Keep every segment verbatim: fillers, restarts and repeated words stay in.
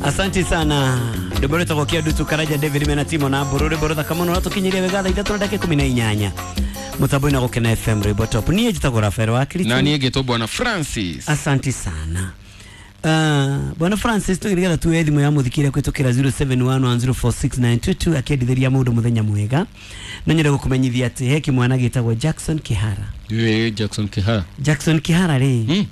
Asante sana ndobore twagokia ndutu Karaja David mena timo na bururi borotha kamono ratukinyiria wega thaa ithatu na ndagika ikumi na inyanya mutambo ina Gukena F M Rwimbo Top. Niĩ njĩtagwo Rafael wa Kristo na niĩ ngĩtwo Bwana Francis. Asante sana. Uh, Bwana Francis tugigetha tuwe thimu ya muthikire kwitukira zero seven one one zero four six nine two two akiendithiria mundu muthenya mwega no nyende gukumenyithia ati he kimwana gitagwo Jackson Kihara. Ye Jackson Kihara. Jackson Kihara ri mm.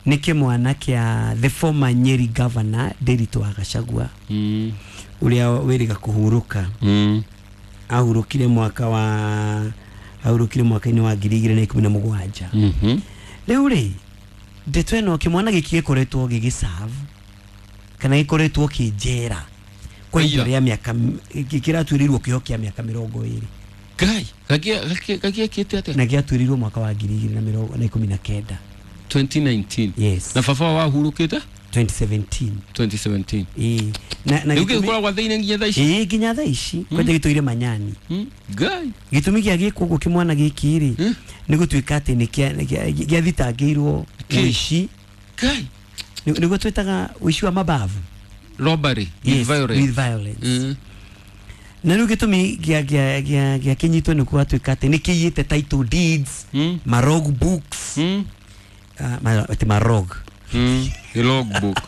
ni kimwana kia the former Nyeri governor Ndiritu wa Gachagua mm. uria wiriga kuhuruka mm. ahurukire mwaka wa ahurukire mwaka-inĩ wa ngiri igĩrĩ na ikũmi na mũgwanja. Mhm. Rĩu rĩ ndeto ĩno kĩmwana gĩkĩ gĩkoretwo gĩgĩserve kana gĩkoretwo kĩ njera kwa ihinda rĩa mĩaka kĩratuĩrĩirwo kĩoho kĩa mĩaka mĩrongo ĩrĩ. Ngai gagiekĩte atĩa? Na gĩatuĩrĩirwo mwaka wa ngiri igĩrĩ na mĩrongo na ikũmi na kenda twenty nineteen. Yes. Na baba wahurukĩte twenty seventeen. twenty seventeen. Ĩĩ. Na na rĩu gĩkoragwo thĩinĩ nginya thaa ici. Ĩĩ nginya thaa ici kwanja gĩtũire manyani. Ngai. Gĩtũmi gĩa gĩkwo ũguo kĩmwana gĩkĩ rĩ nĩ gũtuĩka atĩ nĩ gĩathitangĩirwo ũici. Ngai. Nĩguo twĩtaga ũici wa mabavu. Robbery with yes, violence. With violence. Mm. Na rĩu gĩtũmi gĩa gĩa gĩa gĩa kĩnyitwo nĩ gwatuĩka atĩ nĩ kĩiyĩte title deeds, mm. marog books. Mm. Uh, ma, ati marog. Mm. The log book.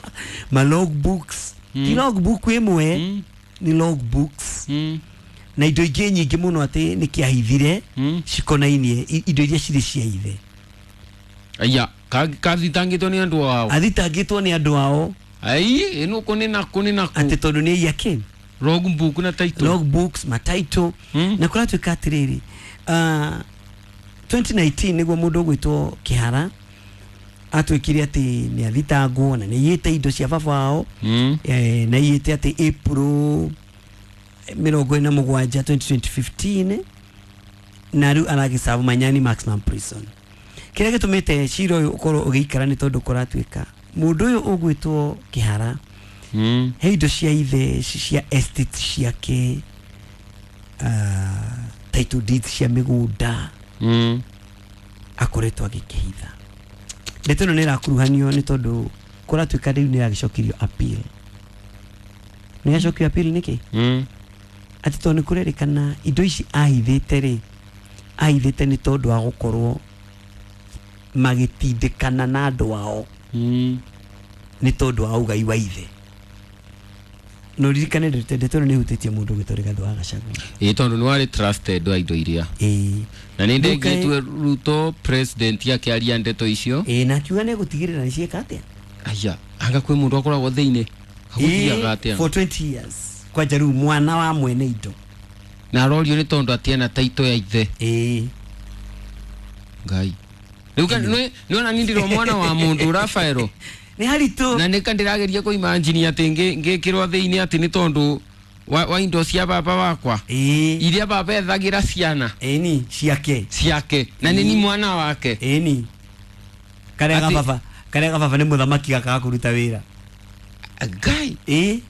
Ma log books. Mm. Ti log book ĩmwe mm. ni log books. Mm. Na indo ingĩ nyingĩ mũno atĩ nĩ kĩahithire mm. cikonainie indo iria cirĩ cia ithe. Aya, kathitangĩtwo nĩ andũ ao. Athitangĩtwo nĩ andũ ao. Ai, ĩno kũnĩ na kũnĩ na kũ. Atĩ tondũ nĩ iya kĩ? Log book na title. Log books, ma title. Mm. Na kũratuĩka atĩrĩrĩ, uh, twenty nineteen nĩguo mũndũ ũgwĩtwo Kihara atuĩkire atĩ nĩ athitangwo na nĩ aiyĩte indo cia baba wao. Mm. Eh, na aiyĩte atĩ April mĩrongo ĩna mũgwanja twenty fifteen na rĩu aragĩserve Manyani maximum prison. Kĩrĩa gĩtũmĩte cira ũyũ ũkorwo ũgĩikara nĩ tondũ kũratuĩka mũndũ ũyũ ũgwĩtwo Kihara mm. he indo cia ithe cia estate ciake, uh, title deeds cia mĩgũnda mm. akoretwo agĩkĩhitha. Ndeto ĩno nĩ ĩrakuruhanio nĩ tondũ kũratuĩka rĩu nĩ ĩragĩcokirio appeal. Nĩ yacokio appeal nĩkĩ? Mm. Atĩ tondũ nĩ kũrerĩkana indo ici ahithĩte rĩ, ahithĩte nĩ tondũ wa gũkorwo magĩtindĩkana na andũ ao mm. nĩ tondũ wa ũgai wa ithe. No ririkane ndeto ĩno nĩ ĩhutĩtie mũndũ ũgwĩtwo Rigathĩ wa Gachagua. Ĩĩ tondũ nĩ warĩ trusted wa indo iria. Ĩĩ. Na nĩ ndengĩtwe Ruto president akĩaria ndeto icio. Ĩĩ na akiuga nĩ egũtigĩrĩra nĩ ciĩka atĩa? Aya, anga kwĩ mũndũ akoragwo thĩinĩ. Agũthiaga atĩa? For twenty years. Kwanja rĩu mwana wa mwene indo. Na arorio nĩ tondũ atiena title ya ithe. Ĩĩ. Ngai. Rĩu nĩ nĩona niĩ ndĩrĩ mwana wa mũndũ Rafaelo. Nĩ haritũ. Na nĩ ndĩrageria kũimagine atĩ ngĩkĩrwo thĩinĩ atĩ nĩ tondũ wa, wa indo cia baba wakwa. Ĩĩ. Iria baba ethagira ciana. Ĩni ciake. Ciake. Na nĩ ni mwana wake. Ĩni. Karĩa ga baba, karĩa ga baba nĩ mũthamaki gakaga kũruta wĩra. Ngai. Ĩĩ.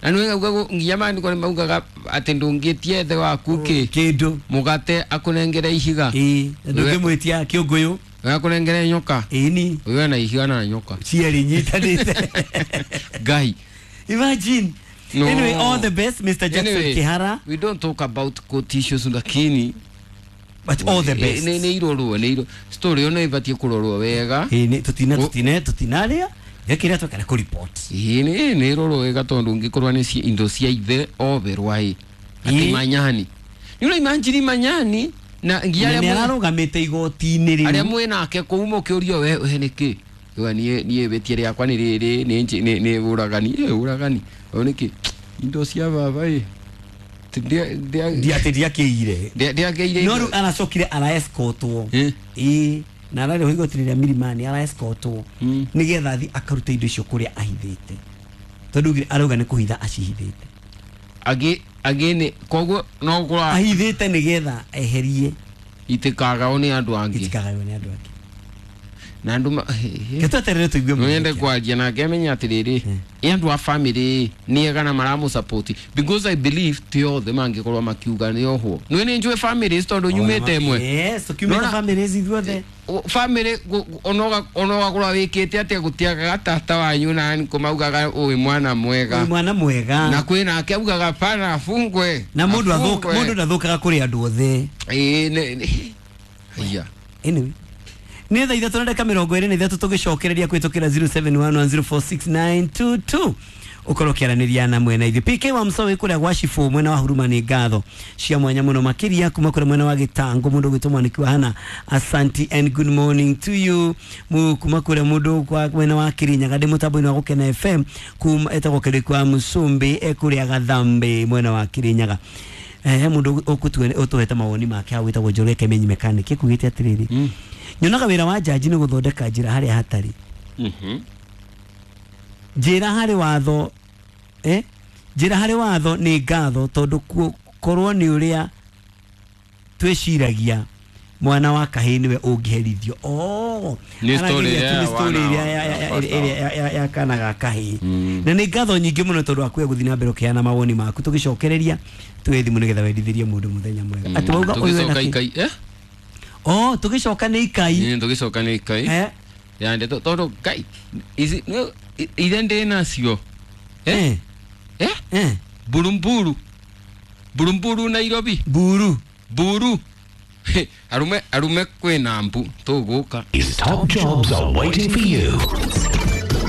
Na nĩ ugaga nginya maandĩko nĩ maugaga atĩ ndũngĩtia ithe waku kĩ kĩndũ mũgate akũnengere ihiga. Ĩĩ. Ndũngĩmwĩtia kĩũngũyũ akũnengere nyoka. Ĩni. Ũyũ na ihiga na nyoka cierĩ nyitanĩte. Ngai. Imagine. No. Anyway, all the best Mister Jackson anyway, Kihara. We don't talk about court issues lakini but all the best. Nĩ nĩ irorwo nĩ iro story ĩno ĩbatiĩ kũrorwo wega. Ĩĩ nĩ tũtina tũtine tũtinarĩa gĩkĩrĩa twekana kũ report. Ĩĩ nĩ nĩ irorwo wega tondũ ũngĩkorwo nĩ indo cia ithe oberwa ĩ atĩ Manyani. Nĩ ũra imagine Manyani na nginya arĩa ararũgamĩte igoti-inĩ rĩu. Arĩa mwĩ nake kũu mũkĩũrio we we nĩkĩ? We niĩ niĩ wĩtie rĩakwa nĩ rĩrĩ nĩ nĩ ũragani ĩ ũragani. O nĩkĩ? Indo cia baba ĩ. Ndia atĩ ndiakĩire. Ndiakĩire. No rĩu aracokire ara escortwo. Ĩĩ na ararĩho igoti rĩa Milimani ara escortwo nĩgetha athiĩ akarute indo icio kũrĩa ahithĩte. Tondũ arauga nĩ kũhitha acihithĩte. Agĩ agĩ koguo no gũkorwo ahithĩte nĩgetha eherie itikagao nĩ andũ angĩ. Itikagaywo nĩ andũ angĩ. Na andũ Gĩtweterere tũigue mũno. Nyende kwaria nake amenye atĩrĩrĩ Andu a family ni ega na maramu support because I believe ti othe mangikorwo makiuga ni ohwo nwe ni njue families tondu nyumite imwe. Yes, tukiumite families ithuothe family onoga onoga kurwa wikite atia gutiagaga tata wanyu na niko maugaga uyu mwana mwega uyu mwana mwega na kwina ake augaga pana afungwe na mundu athuka mundu ndathukaga kuri andu othe eh yeah. Anyway, nä thaa ithatå na ndagä ka mä rongo ä rä na ithatå tå gä cokereria kwä tå kä ra zero seven one one zero four six nine two two ukorwo kä na mwena ithuä P K wa Msowe kå rä a gwa Cibå mwena wa Huruma nä ngatho cia mwanya må no makä ria kuma kå rä a mwena wa Gä tangå må ndå gwä two mwaniki wa hana asanti and good morning to you mu kuma kå rä a må ndå mwena wa Kä rinyaga ndä må tambo-inä wa Gå kena F M kuma etagwo kä rä wa Mucumbi ekå rä a Gathambä mwena wa Kä rinyaga eh mundu ukutue mawoni make hau witagwo Njoroge Kemenyi mechanic ekugite atiriri mm. Nyonaga wira wa jaji ni guthondeka njira haria hatari. Mhm. Njira hari watho eh njira hari watho ni ngatho tondu korwo ni uria twiciragia mwana wa kahii niwe ungiherithio. Oh, ni story ya story ya ya ya kana ga kahii. Na ni ngatho nyingi muno tondu akuya guthi na mbere ukiana mawoni maku tugicokereria twi thimu nigetha wendithirie mundu muthenya mwega. Ati wauga uyu wena ikai eh oh tugicoka ni ikai ni tugicoka ni ikai eh ya ndeto tondu kai ici ithe ndi nacio eh eh eh burumburu burumburu Nairobi buru buru arume arume kwina mbu tuguka. Top jobs are waiting for you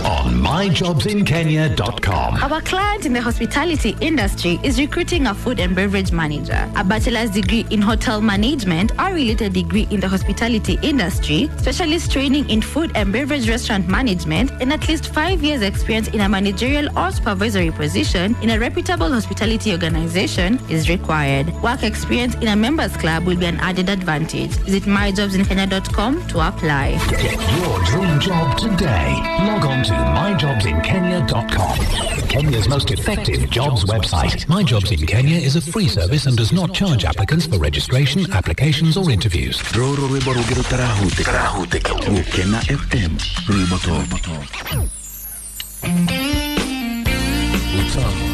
on my jobs in kenya dot com. Our client in the hospitality industry is recruiting a food and beverage manager, a bachelor's degree in hotel management or related degree in the hospitality industry, specialist training in food and beverage restaurant management, and at least five years experience in a managerial or supervisory position in a reputable hospitality organization is required. Work experience in a members club will be an added advantage. Visit my jobs in kenya dot com to apply. Get your dream job today. Log on to my jobs in kenya dot com. Kenya's most effective jobs website. My Jobs in Kenya is a free service and does not charge applicants for registration, applications or interviews. Roro rwimbo rũngĩ rũtarahutĩka Gũkena F M rwimbo top. Utamu